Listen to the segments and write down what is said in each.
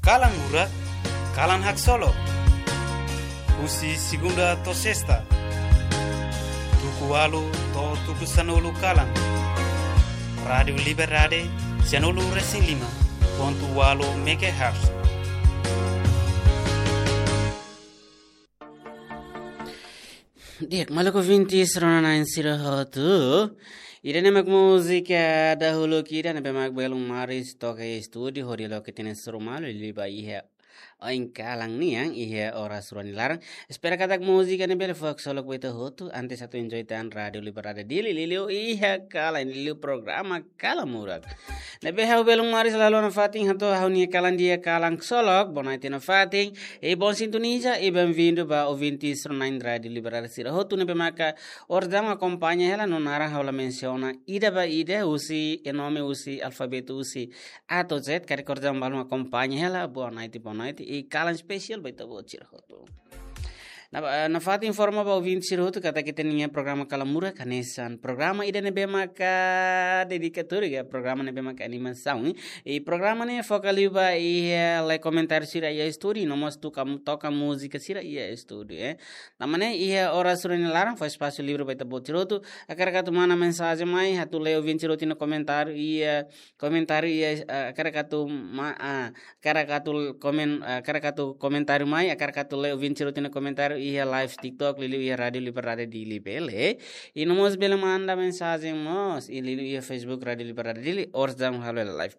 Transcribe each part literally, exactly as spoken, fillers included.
Kalan Murak, kalan haksolok. Husi segunda to'o sesta, tuku ualu to'o tuku sanulu kalan. Rádiu Liberdade, sanulu resin lima pontu ualu megahertz. Di'ak, maluk ouvintes rona-na'in sira hotu. Ida-ne'e mak múzika dahuluk ida ne'ebé mak belun Maris toka iha estúdiu, hodi loke tinan suru malu liuliu ba iha oin kalan nian iha oras rua nia laran. Espera katak múzika ne'e bele fó haksolok ba ita hotu, antes atu enjoy tan Rádiu Liberdade Dili liuliu iha kalan, liuliu programa Kalan Murak. Ne'ebé ha'u belun Maris la haluha nafatin hato'o ha'u-nia kalan di'ak, kalan haksolok, boa noite nafatin, i bom sintonia, i bem-vindo ba ouvintes rona-na'in Rádiu Liberdade sira hotu ne'ebé maka orsida akompaña hela, no naran ha'u la mensiona ida ba ida, husi, e nome husi alfabetu husi A to'o Z, karik orsida balun akompaña hela, boa noite, boa noite, i kalan espesiál ba ita-boot sira hotu. Na, eh, nafatin informa ba ouvinte sira hotu katak ita-nia programa Kalan Murak hanesan programa ida ne'ebé maka dedikatóriu, ka programa ne'ebé maka animasaun, eh. I programa ne'e foka liu ba iha lee komentáriu sira iha estúdiu, no mós toka, toka múzika sira iha estúdiu, eh. Tanba ne'e iha oras rua nia laran fó espasu livre ba ita-boot sira hotu, hakarak atu manda mensajen mai, atu lee ouvinte sira hotu nia komentáriu iha, komentáriu iha, eh, hakarak atu ma-, ah, hakarak atu komen-, ah, hakarak atu komentáriu mai, hakarak atu lee ouvinte sira hotu nia komentáriu iha live TikTok, liuliu iha Rádiu Liberdade Dili bele. I no mós bele manda mensajen mós, i liuliu iha Facebook Rádiu Liberdade Dili, orsida halo hela live.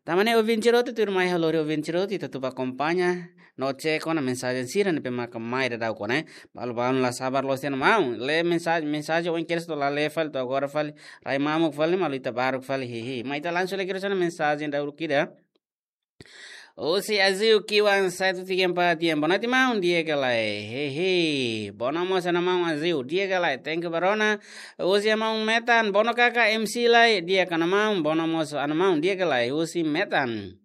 Tanba ne'e ouvinte sira hotu, tuirmai ha'u lori ouvinte sira hotu, ita atu bá akompaña, no check ona mensajen sira ne'ebé maka mai daudaun ona, eh. Balu-balu la sabar loos tiha ona maun. Lee mensajen, mensajen oin kedas to'o la lee fali, to'o agora fali, rai mamuk fali, malu ita baruk fali, hehe. Mai ita langsung lee kedas ona mensajen dahuluk ida. Husi Aziu Kiwan satu tiga empat, di'ak, boa noite maun, di'ak ka lae? Hehe. Boa noite mós ona maun Aziu, di'ak ka lae? Thank you ba rona. Husi maun Metan, boa noite kaka M C lae, di'ak ka lae maun? Boa noite mós ona maun, di'ak ka lae? Husi Metan.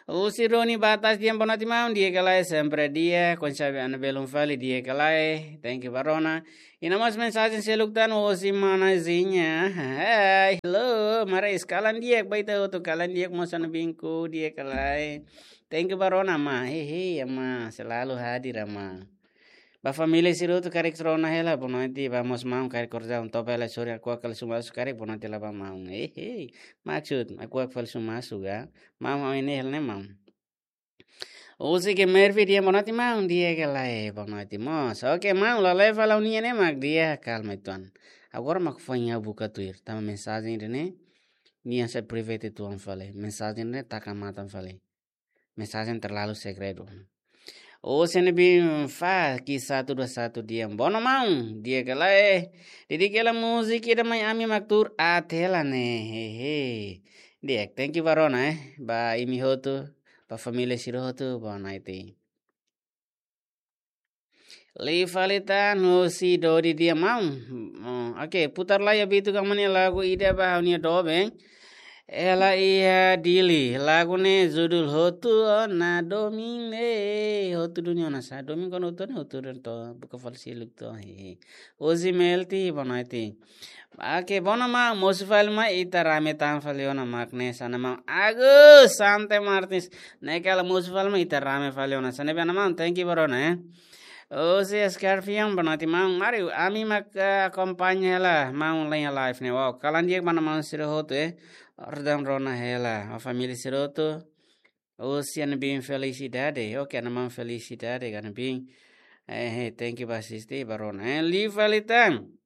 Husi Roni Batas, di'ak, boa noite maun, di'ak ka lae? Sempre di'ak, oinsá be ana belun fali, di'ak ka lae? Thank you ba rona. I no mós mensajen seluk tan husi mana Zinha. Hai, hello, Maris, kalan di'ak ba ita hotu, kalan di'ak mós ona biin ku, di'ak ka lae? Thank you ba rona, ma. Hehe, ama, selalu hadir, ama. Ba família sira hotu karik rona hela, boa noite, ba mós maun karik orsida toba hela, sorry, hakuak fali sumasu karik, boa noite la ba maun. Hehe, maksud, hakuak fali sumasu ka? Maun, maun ini hela ne'e maun. Husi Kemervi, di'ak, boa noite maun, di'ak ka lae? Boa noite mós. Oke maun, la lee fali ha'u-nian ne'e mak di'ak, kalma uitoan. Agora mak foin ha'u buka tuir, tanba mensajen ida-ne'e, nia sai private uitoan fali. Mensajen ne'e taka matan fali. Mensajen terlalu segredu. Husi Nebin Fa, Ki satu dua satu, di'ak, boa noite maun, di'ak ka lae? Dedika hela múzika ida mai, ami mak tuur aat hela ne'e, hehe. Di'ak, thank you ba rona, eh. Ba imi hotu, ba família sira hotu, boa noite. Liu fali tan husi Dodi, di'ak maun. Oh, oke, putar lai Abitu Kamani lagu ida ba ha'u-nia doben. Ela iha Dili, lagu ne'e judul Hotu Ona Domin, eh, hotu duni ona sá? Domin kona hotu ona, hotu duni to, buka fali seluk to, hehe. Husi Melti, boa noite. Oke, boa noite maun, mosu fali mai, ita rame tan fali ona mak ne'e, hanesan maun Agus Sante Martins. Ne'e kala mosu fali mai, ita rame fali ona. Hanesan ne'e be ona maun, thank you ba rona, eh. Husi Scorpion, boa noite maun. Mari, ami mak, eh, akompaña hela maun iha live ne'e. Wow, kalan di'ak ba maun sira hotu, eh. Orsida rona hela, ba família sira hotu. Husi Ana Bin Felicidade. Oke, ana maun Felicidade, ana Bin. Eh, eh, thank you ba asiste, ba rona. Eh, liu fali tan.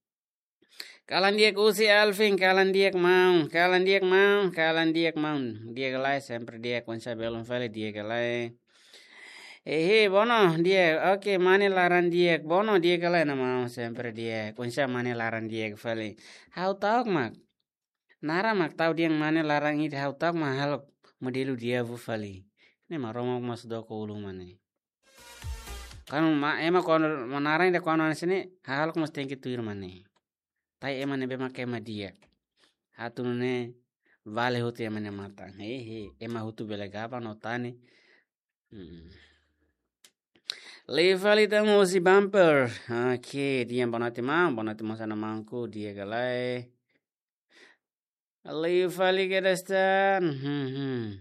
Kalan di'ak husi Alvin, kalan di'ak maun, kalan di'ak maun, kalan di'ak maun. Di'ak ka lae? Sempre di'ak, oinsá belun fali, di'ak ka lae? Hehe, boa noite, di'ak. Oke, mane laran di'ak, boa noite, di'ak ka lae, ana maun? Sempre di'ak, oinsá mane laran di'ak fali? Ha'u ta'uk mak. Naran mak ta'uk dehan mane laran ida, ha'u ta'uk mak hahalok modelu di'ak fali. Ne'e mak Roma mós doko ulun mane. Kan ma, ema kuandu, ma naran ida kuandu hanesan ne'e, hahalok mós tenke tuir mane. Tanba ema ne'ebé mak ema di'ak. Atu nune'e vale hotu ema nia matan. Hehe, ema hotu bele gaba no tane. Hmm. Liu fali tan husi Bumper. Oke, di'ak, boa noite maun, boa noite mós ana maunku, di'ak ka lae? Liu fali kedas tan. Hmm, hmm.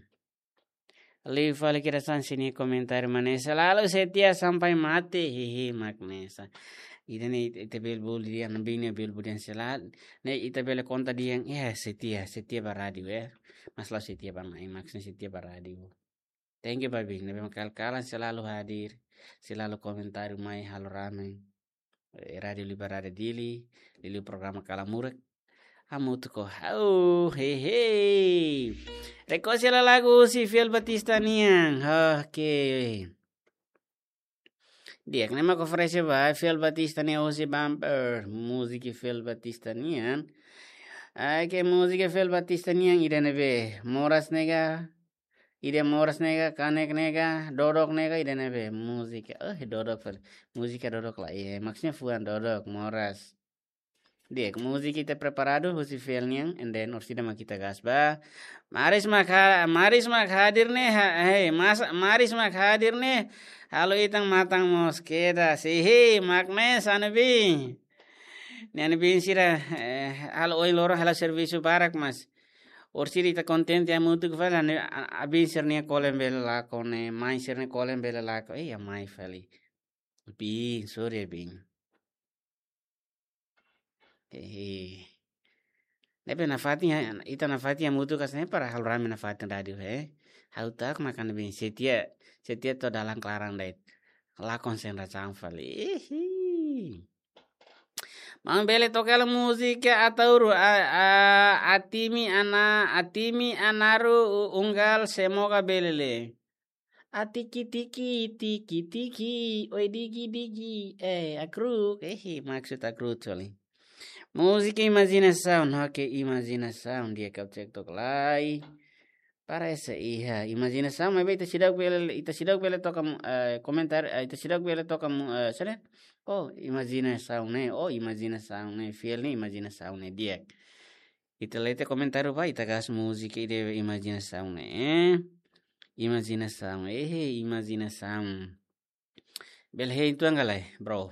Liu fali kedas hanesan nia komentáriu, mak ne'e selalu setia sampai mati. Hihi, mak ne'e hanesan. Ida-ne'e ita, ita bele bolu dehan, bini bele bolu dehan selalu. Ne'e ita bele konta dehan, ya, setia, setia ba rádiu, ya. Mas la setia ba mai, maksudnya setia ba rádiu. Thank you, Babi. Ne'ebé mak kal-kalan selalu hadir, selalu komentáriu mai halo rame. Eh, Rádiu Liberada Dili, liuliu programa Kala Murak. Hamutuk ho ha'u, hehe. Rekosi lagu husi Fiel Batista nian. Oke. Di'ak, ne'e mak oferese ba Fiel Batista nian husi Bumper. Múzika Fiel Batista nian. Ai, ke múzika Fiel Batista nian ida-ne'ebé. Moras ne'e ka, ida moras ne'e ka, kanek ne'e ka, dodok ne'e ka, ida-ne'ebé. Múzika, eh, dodok, fel-, múzika dodok la iha. Maksudnya fuan dodok, moras. Di'ak, múzika ita preparadu husi Fiel nian, and then orsida mak ita gas ba. Maris mak ha-, Maris mak hadir ne'e, ha-, hei, mas-, Maris mak hadir ne'e, halo ita-nia matan mós kedas. Hihi, mak ne'e hanesan ne'ebé. Ne'e ne'ebé sira, eh, halo ohin loron halo servisu barak mas. Orsida ita kontente hamutuk fali, ne'e, a, a, bin sira-nia kolen bele lakon ne'e, mai sira-nia kolen bele lakon. Eh, ya mai fali. Bin, sorry bin. Hehe. Ne'ebé nafatin ya, ita nafatin hamutuk hanesan ne'e para halo rame nafatin rádiu, he. Ha'u tak makan bin setia, setia to'o dalan klaran de'it. La konsentrasaun fali. Ihi. Maun bele toka hela múzika Ataúru, a, a, Atimi Ana, Atimi Anaru u-, Unggal, semoga bele le. A tiki tiki, tiki tiki, oi digi digi, eh, akruk, eh, maksud akruk fali. Múzika imajinasaun, oke, imajinasaun, di'ak, ha'u cek took lai. Parese iha imajinasaun, maibé ita seidauk bele, ita seidauk bele toka mu-, eh, komentáriu, eh, ita seidauk bele toka mu-, eh, saida? Oh, imajinasaun ne'e, oh, imajinasaun ne'e, Fiel ne'e imajinasaun ne'e, di'ak. Ita leten komentáriu ba, ita gas múzika ida imajinasaun ne'e. Imajinasaun, eh, imajinasaun. Bele hein uitoan ka lae, bro.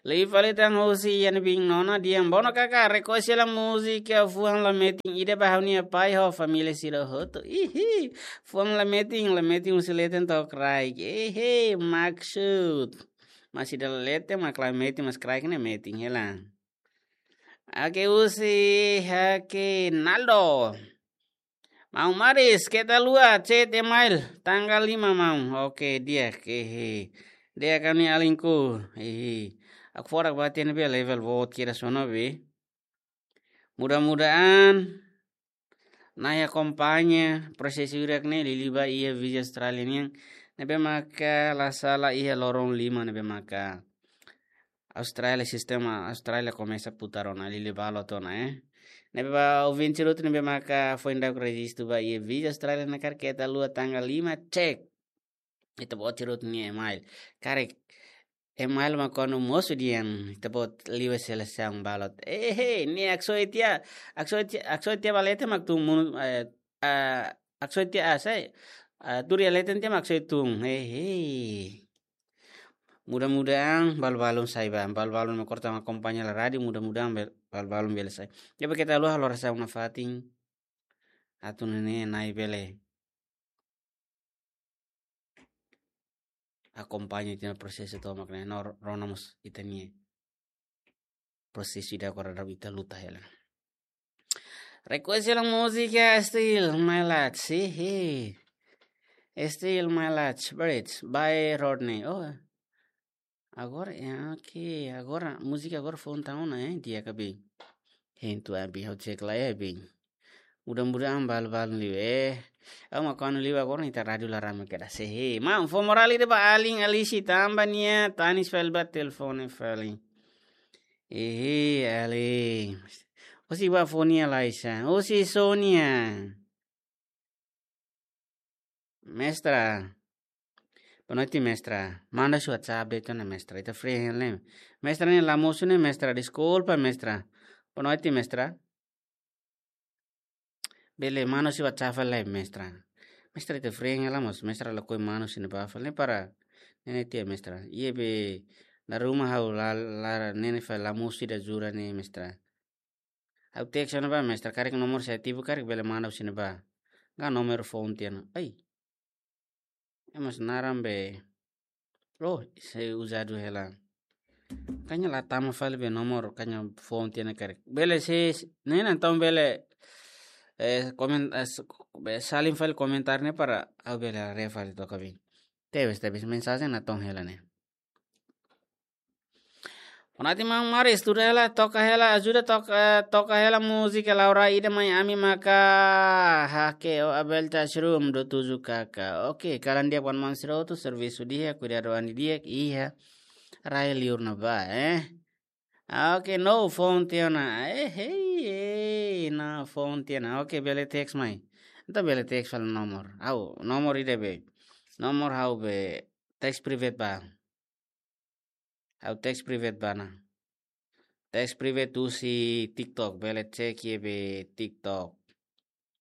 Liu fali tan husi iha ne'ebé nona dehan, bono kaka, rekosi hela múzika fuan la metin ida ba ha'u-nia pai ho família sira hotu. Ihi, fuan la metin, la metin husi leten to'o kraik. Ihi, maksud. Mas ida la leten, mak la metin, mas kraik ne'e metin hela. Oke, husi, oke, Naldo. Maun Maris, keta haluha, chat email, tanggal lima, maun. Oke, di'ak, hehe. Di'ak, ha'u-nia alinku, hehe. Hakfodak ba tiha ne'ebé level boot kedas ona be. Mudah-mudahan Nai akompaña prosesu hirak ne'e liuliu ba iha Visa Austrália nian. Ne'ebé maka la sala iha loron lima ne'ebé maka Austrália, sistema Austrália komesa putar ona, liuliu balot ona, eh. Ne'ebé ba ouvinte sira hotu ne'ebé maka foin daudauk rejistu ba iha Visa Austrália ne'e karik keta haluha tanggal lima, cek. Ita-boot sira hotu nia email. Karik email mak kuandu mosu dehan ita-boot liu selesaun balot. Eh, eh, ne'e haksoit tiha, haksoit tiha, haksoit tiha ba leten mak tun monu, eh, ah, haksoit tiha, ah, sai, ah, tuur iha leten tiha mak haksoit tun. Eh, eh. Mudah-mudahan balu-balun sai ba, balu-balun mak korta mak akompaña hela rádiu, mudah-mudahan bel-, balu-balun bele sai. Jadi keta haluha halo orasaun nafatin. Atu nune'e Nai bele akompaña ita-nia prosesu tomak ne'e, no rona mós ita-nia prosesu ida agora daudaun ita luta hela. Request hela múzika Still My Light, si, hi. Still My Light, Bridge, by Rodney. Oh, agora, ya, oke. Agora, múzika agora foun tan ona, eh, di'ak ka be. Hein uitoan be, ha'u cek lai, eh, be. Mudah-mudahan balu-balun liu, eh. Ha'u mak kuandu liu agora ita rádiu la rame kedas, si, hi. Maun, fó morál ida ba alin Alisi tanba nia tanis fali ba telefone fali. Ihi, alin. Husi ba fó nia lai sa. Husi Sonia. Mestra. Boa noite, mestra. Manda sua WhatsApp de'it ona, mestra. Ita free hein lai. Mestra, ne'e la mosu ne'e, mestra. Deskulpa, mestra. Boa noite, mestra. Bele manda sua WhatsApp lai, mestra. Mestra, ita free hein lai mós, mestra, lakohi manda sira-ne'ebá fali para ne'e tiha, mestra. Iha be dala ruma ha'u la, la, ne'e fali la mosu ida jura ne'e, mestra. Ha'u text ona ba, mestra, karik nomor sei ativu karik bele manda husi ne'ebá. Ka nomor foun tiha ona. Ai. Ema sira naran be. Oh, sei uzadu hela. Kanya la tama fali be nomor, kanya phone tiha ona karik. Bele se, ne'e entaun bele, eh, komen, eh, s-, be salin fali komentar ne'e para ha'u bele haree fali to'ok abi. Tebes, tebes mensajen natoon hela ne'e. Konati Mang Maris, tuda hela, toka hela, ajuda toka, eh, toka hela múzika Laura ida mai ami maka hake o Abel Tasrum do tuju kaka. Oke, kalan di'ak wan Mang Siroto, servisu di'ak, kuidadu an di'ak, iha rai liur ne'ebá, eh. Ah, oke, no phone tiha ona. Eh, hei, hei, no phone tiha ona. Oke, bele text mai. Entaun bele text fali nomor. Ha'u, nomor ida be. Nomor ha'u be text private ba. Ha'u text private ba ona. Text private husi TikTok, bele cek iha be TikTok.